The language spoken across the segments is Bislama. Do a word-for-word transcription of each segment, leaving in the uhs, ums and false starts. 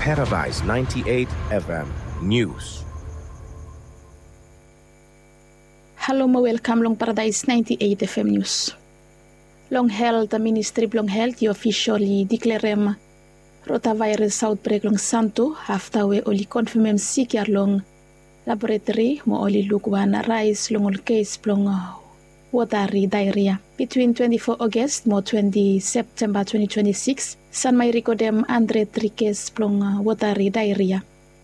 Paradise ninety-eight F M News. Halo mo welkam long Paradise ninety-eight F M News. Long helt, ministri blong helt i ofisol i diklerem rotavaeras aotbrek long Santo afta we oli konfemem sik ya long laboratori mo oli luk wan raes long ol kes blong wotari daeria. Bitwin twenti fo Ogos mo twenti Septemba twenti twenti sikis, Sanma i rekodem handred tri kes blong wotari daeria.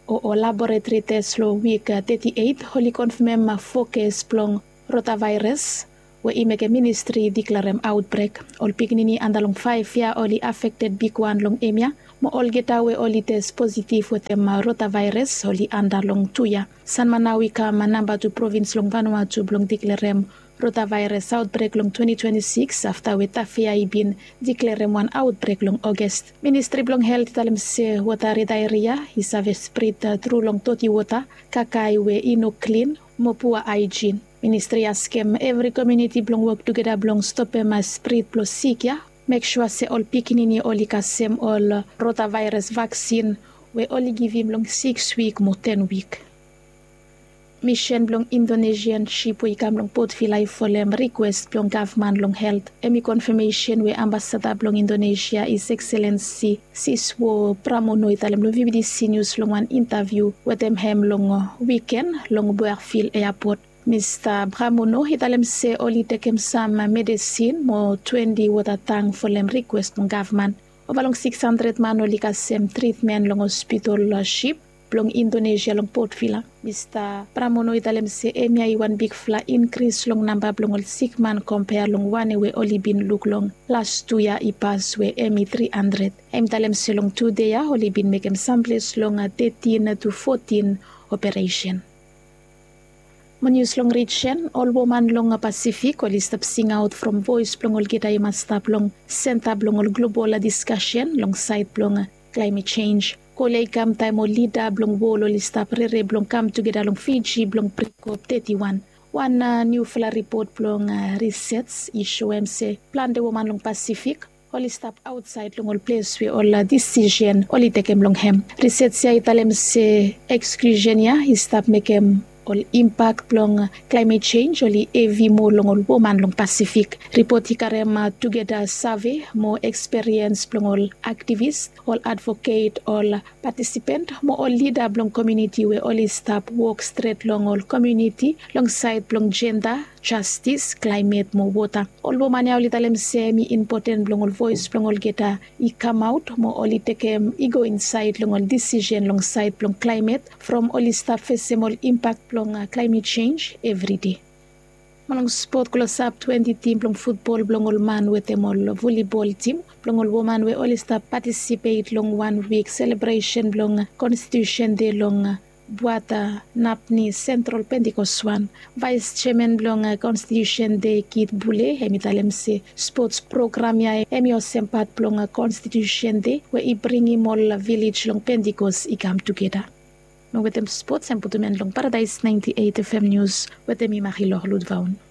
O ol laboratori tes long wik teti eit oli konfemem fo kes blong rotavaeras we i mekem ministri i diklerem aotbrek. Ol pikinini anda long faef yia oli afekted bigwan long hemia, mo olgeta we oli tes positiv wetem rotavaeras oli anda long tu yia. Sanma nao i kam namba tu provins long Vanuatu blong diklerem rotavaeras aotbrek long twenti twenti sikis afta we Tafea i bin diklerem wan aotbrek long Ogos. Ministri blong helt i talem se wotari daeria i save sprit tru long doti wota, kakae we i no klin, mo pua aejin. Ministri i askem evri komuniti blong wok tugeta blong stopem sprit blong sik ya. Mek sua se ol pikinini oli kasem ol rotavaeras vaksin we oli givim long siks wik mo ten wik. Misen blong Indonesian sip we i kam long Port Vila i folem rikwes blong gavman long helt. Hemi konfemesen we ambasada blong Indonesia, His Excellency Siswo Pramono, i talem long V B T C News long wan intaviu wetem hem long wiken long Boerfield Airport. Mista Pramono i talem se oli tekem sam medesin mo twenti wota tang folem rikwes blong gavman. Ova long siks handred man oli kasem tritmen long hospital sip blong Indonesia long Port Vila. Mista Pramono i talem se hemia i wan bigfala inkris long namba blong ol sikman kompea long wan we oli bin luk long las tu yia i pas we hemi tri handred. Hem i talem se long tu dei ya oli bin mekem samples long tetin tu fotin operesen. Mo nius long rijen, ol woman long Pasifik oli stap singaot from voes blong olgeta i mas stap long senta blong ol global diskasen long saed blong klaemet jenj. Kol ya i kam taem ol lida blong wol oli stap rere blong kam tugeta long Fiji blong bring op teti wan. Wan niufala ripot blong risej i soem se plante woman long Pasifik oli stap aotsaed long ol ples we ol disisen oli tekem long hem. Risej ya i talem se eksklusen ya i stap mekem ol impak blong klaemet jenj oli hevi moa long ol woman long Pasifik. Ripot i karem tugeta save mo eksperiens blong ol aktivis, ol advoket, ol patisipen mo ol lida blong komuniti we oli stap wok stret long ol komuniti long saed blong jenda, jastis, klaemet mo wota. Ol woman ya oli talem se hemi impoten blong ol voes blong olgeta i kamaot mo oli tekem i go insaed long ol disisen long saed blong klaemet from oli stap fesem ol impak blong klaemet jenj evri dei. Mo long spot, klosap twenti tim blong futbol blong ol man wetem ol volibol tim blong ol woman we oli stap patisipet long wan wik selebresen blong Konstitusen Dei long Buata Napni Sentral Pentikos wan. Vaes jeaman blong Konstitusen Dei, Kit Bule, hem i talem se spots program ya hem i olsem pat blong Konstitusen Dei we i bringim ol vilej long Pentikos i kam tugeta. Mo wetem spots hem putum en long Paradise ninety-eight F M News wetem mi, Marilor Ludvaun.